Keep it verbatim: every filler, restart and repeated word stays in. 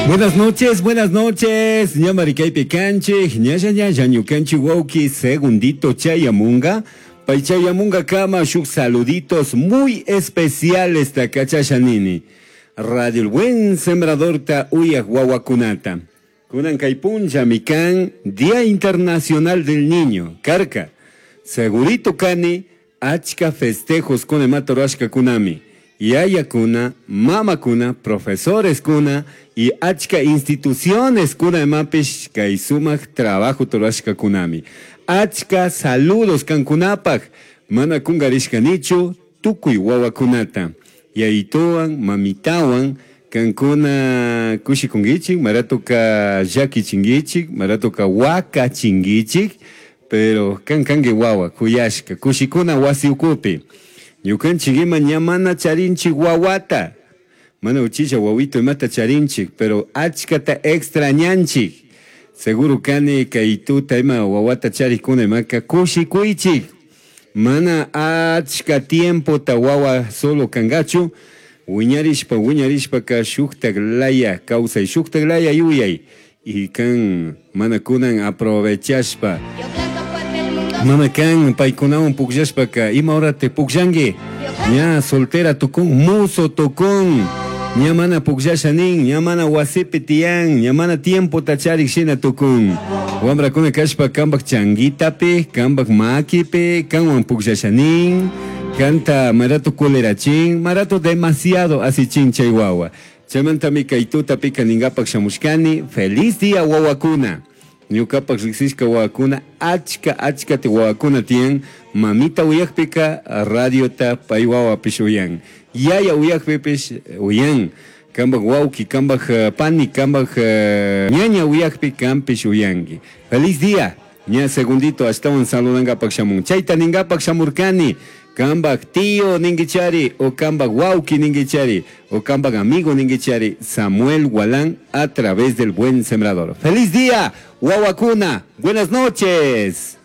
Buenas noches, buenas noches. Ñamari kaypi kanchik, ñalla ñalla ñukanchik wawki segundito chayamunga. Pay chayamunga kama shuk saluditos muy especiales ta kachasha nini. Radio El Buen Sembrador ta uyak wawakunata. Kunan kay punlla mikan Día Internacional del Niño. Karka. Segurito kani achka festejos kuna matorashka kunami. Yayakuna, mamakuna, profesores kuna y achka instituciones kuna imapish kay sumak trabajo torashka kunami. Achka saludos kankunapaj, mana kungarishkanichu tukuy wawakunata. Yayituwan, mamitawan, kankuna kushikunkichik, maratuka llakichinkichik, maratuka wakachinkichik, pero kan kanki wawa, kuyashka, kushikuna wasi ukupi. Ñukanchik ima ña mana charinchik wawata. Mana uchilla wawito imata charinchik, pero achkata extrañanchik. Seguro kani kay tuta ima wawata charikuna imaka kushikuychik. Mana achka tiempo ta wawa solo kangachu. Wiñarishpa, wiñarishpa ka shuktak laya kawsay, shuktak laya yuyay. Y kan mana kunan aprovechashpa. Yo canto porque el mundo Mana kan paykunawan pukllashpaka ima hora te pukllanki. Ña soltera tukun, muso tukun. Ña mana pukllasha nin, ña mana wasipi tiyan, ña mana tiempo charik shina tukun. Wambrakuna kashpa kanpak changuitapi, kanpak makipi, kanwan pukllasha nin. Kanta marato kulerachin, marato demasiado asichin chay wawa. Chaymantami kay tutapika ningapak shamushkani, feliz día wawakuna. Ñukapak riksishka wawakuna, achka achka te wawakuna tiyan, mamita uyakpika radiota pay wawapish uyan. Yaya uyakpipish uyan. Kanpak wawki, kanpak eh, pani, kanpak eh, ñaña uyakpi kanpish uyanki. Feliz día. Ña segundito ashtawan saludangapak shamun. Chayta ningapak shamurkani. Kanpak tío ninguichari o kanpak wawki ninguichari o kanpak amigo ninguichari Samuel Gualán a través del Buen Sembrador. ¡Feliz día, wawakuna! Buenas noches.